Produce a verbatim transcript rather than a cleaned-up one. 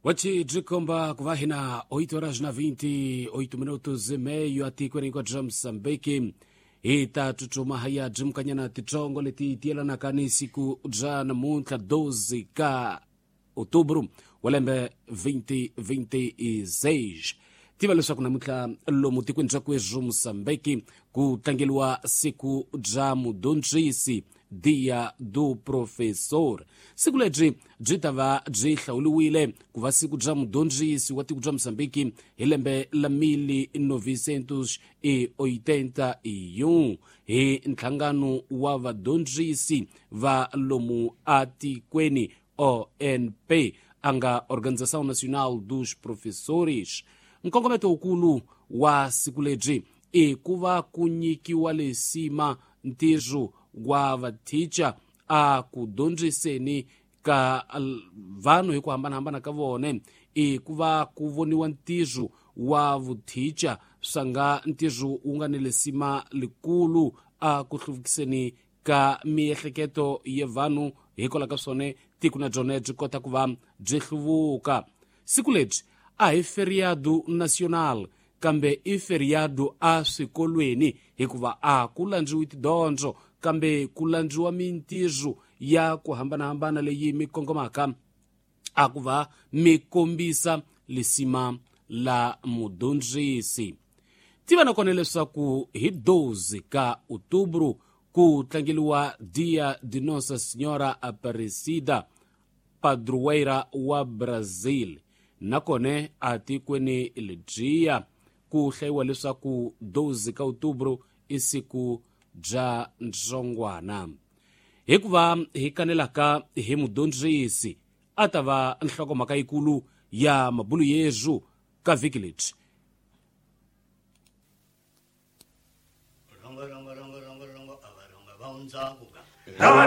Wachi byikomba ku va hina oito horas na vinte e oito minutos e meio atikweni hinkwabyo bya Mozambique. Hi ta tsutsuma hi ya byi titsongo leti tiyelanaka ni siku bya namuntlha doze ka outubro wa lembe vinte vinte e seis. Tiva leswaku namuntlha lomu tikweni bya kwezu Mozambique ku tlangeliwa siku bya mudyondzisi, Dia do Professor. Siku lebyi byi ta va byi hlawuriwile ku va siku bya mudyondzisi wa tiko bya Mozambique hi lembe la mil novecentos e oitenta e um hi nhlangano wa vadyondzisi va lomu atikweni O N P, a nga Organização Nacional dos Professores. Nkongometo wukulu wa siku lebyi i ku va ku nyikiwa lesima ntirho wa vathicha a ku dyondziseni ka vanhu hi ku hambanahambana ka vona, i ku va ku voniwa ntirho wa vuthicha swa nga ntirho wu nga ni lesima likulu a ku hluvukiseni ka miehleketo ya vanhu, hikwalaho ka swona tiko na byona byi kota ku va byi hluvuka. Siku lebyi a hi feriado nacional, kambe i feriado a swikolweni, hikuva a ku landziwi tidyondzo kambe ku landziwa mintirho ya ku hambanahambana leyi mi kongomaka a ku va mi kombisa lisima la mudyondzisi. Tiva nakona leswaku hi doze ka outubro ku tlangeliwa Dia de Nossa Senhora Aparecida, padroeira wa Brazil. Nakona atikweni lebyiya ku hlayiwa leswaku doze ka outubro i siku bya ndzongwana. Hikuva hi kanelaka hi mudyondzisi a ta va nhlokomhaka yikulu ya mabulu yezu ka vhiki lebyi.